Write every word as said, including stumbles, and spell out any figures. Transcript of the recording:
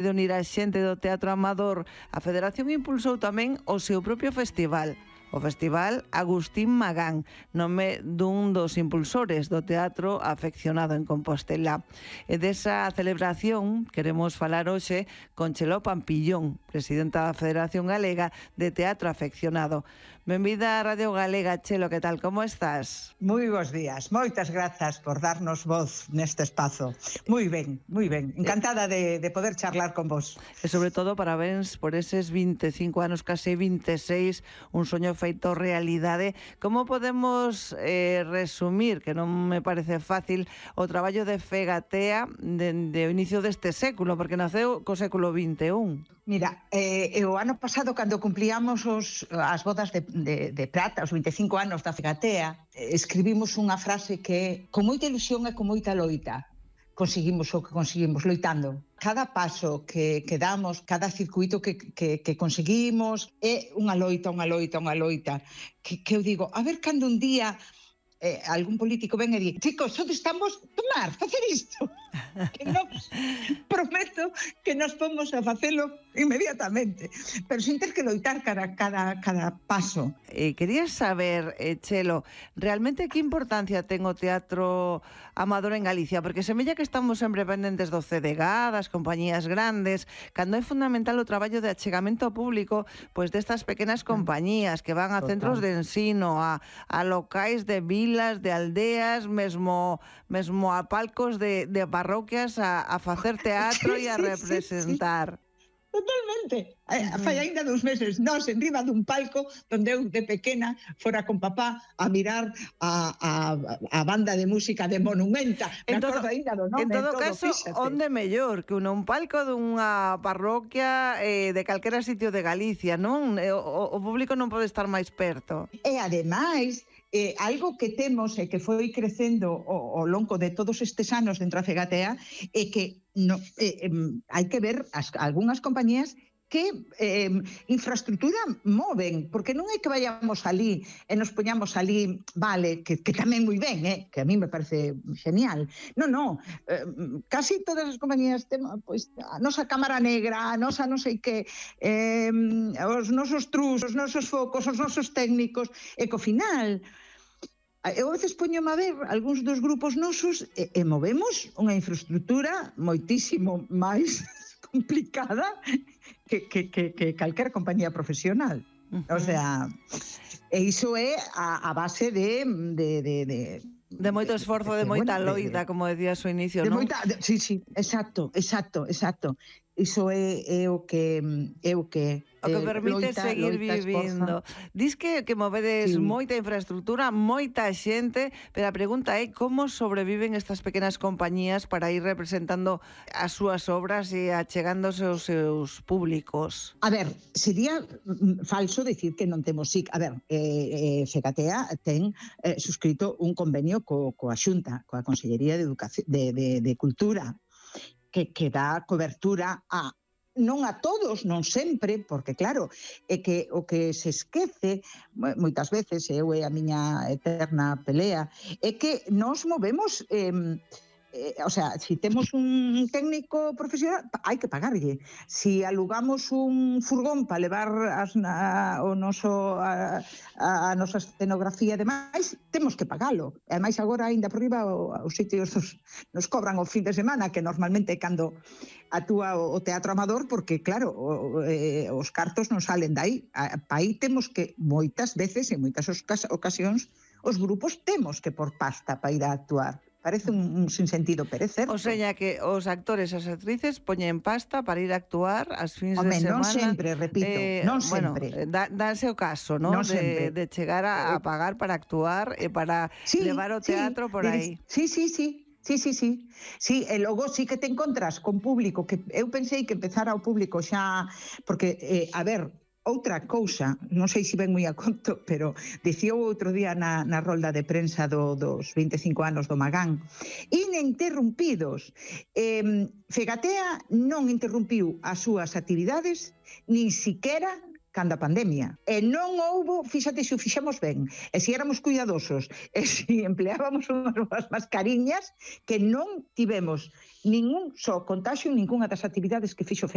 de unir a xente do teatro amador, a Federación impulsou tamén o seu propio festival. O Festival Agustín Magán, nome dun dos impulsores do teatro afeccionado en Compostela. E desa celebración queremos falar hoxe con Cheló Pampillón, presidenta da Federación Galega de Teatro Afeccionado. Benvida a Radio Galega, Chelo, que tal, como estás? Moi bons días, moitas grazas por darnos voz neste espazo. Moi ben, moi ben, encantada de, de poder charlar con vos. E sobre todo, parabéns por eses vinte e cinco anos, case vinte e seis, un soño feito realidade. Como podemos eh, resumir, que non me parece fácil, o traballo de Fegatea dende o inicio deste século, porque naceu co século vinte e un? Mira, eh, o ano pasado, cando cumplíamos os, as bodas de, de, de prata, os vinte e cinco anos da Fegatea, eh, escribimos unha frase que, con moita ilusión e con moita loita, conseguimos o que conseguimos, loitando. Cada paso que, que damos, cada circuito que, que, que conseguimos, é unha loita, unha loita, unha loita. Que, que eu digo, a ver cando un día eh, algún político ven e di, chicos, onde estamos tomar, facer isto? Que nos prometo que nos pomos a facelo inmediatamente, pero sin ter que loitar cada, cada, cada paso. Eh, querías saber, eh, Chelo, realmente que importancia ten o teatro amador en Galicia? Porque semella que estamos sempre pendentes do C D G, das compañías grandes, cando é fundamental o traballo de achegamento público pois destas pequenas compañías que van a centros de ensino, a, a locais de vilas, de aldeas, mesmo, mesmo a palcos de, de parroquias a, a facer teatro e a representar. Sí, sí, sí. Totalmente. Uh-huh. Fai ainda dous meses, nós en riba dun palco onde eu de pequena fora con papá a mirar a, a, a banda de música de Monumenta. Me acordo ainda do nome. En todo, todo caso, fíxate. Onde mellor que un palco dunha parroquia eh, de calquera sitio de Galicia, non? O, o público non pode estar máis perto. E ademais, Eh, algo que temos e que foi crecendo ao, ao longo de todos estes anos dentro da Fegatea é que no, eh, eh, hai que ver as, algunhas compañías que eh, infraestructura moven, porque non é que vayamos ali e nos poñamos ali, vale, que, que tamén moi ben, eh, que a mí me parece genial. Non, non, eh, casi todas as compañías temos, pois, a nosa cámara negra, a nosa non sei que, eh, os nosos trus, os nosos focos, os nosos técnicos, e co final eu a veces poñome a ver algúns dos grupos nosos e, e movemos unha infraestructura moitísimo máis complicada que, que, que, que calquer compañía profesional. Uh-huh. O sea, e iso é a, a base de... de, de, de De moito esforzo, de, de, de moita bueno, loita, de, como decías ao inicio, non? Moita, de, sí, sí, exacto, exacto, exacto. Iso é, é o que é o que o que permite loita, seguir loita, vivindo. Esforza. Dis que, que movedes sí. moita infraestructura, moita xente, pero a pregunta é como sobreviven estas pequenas compañías para ir representando as súas obras e achegándose aos seus públicos. A ver, sería falso decir que non temos S I C. A ver, eh, eh, Fegatea ten eh, suscrito un convenio co, coa Xunta, coa Consellería de, Educación, de, de, de Cultura, que, que dá cobertura a non a todos, non sempre, porque claro, é que o que se esquece moitas veces, eu é a miña eterna pelea, é que nos movemos eh, Eh, o sea, si temos un técnico profesional, hai que pagarlle. Si alugamos un furgón para levar as, a, o noso, a, a, a nosa escenografía e demais, temos que pagalo. E ademais agora, ainda por riba, os sitios nos, nos cobran o fin de semana, que normalmente é cando actúa o, o teatro amador, porque claro, o, eh, os cartos non salen dai. Para aí temos que, moitas veces, en moitas ocasións, os grupos temos que por pasta para ir a actuar. Parece un, un sinsentido, pero é certo. O sea, que os actores e as actrices poñen pasta para ir a actuar as fins Home, de semana. Non sempre, repito, eh, non bueno, sempre. Dá, dáse o caso, ¿no? De, de chegar a, a pagar para actuar e para sí, levar o teatro sí, por aí. Sí, sí, sí. Sí, sí, sí. Sí, e logo sí que te encontras con público, que eu pensei que empezara o público xa, porque, eh, a ver, outra cousa, non sei se ven moi a conto, pero dicía outro día na, na rolda de prensa do, dos vinte e cinco anos do Magán, ininterrumpidos. Eh, Fegatea non interrumpiu as súas actividades, nin siquera cando a pandemia. E non houbo, fíxate se o fixemos ben, e se éramos cuidadosos, e se empleábamos unhas mascariñas, que non tivemos ningún só contagio en ninguna das actividades que fixo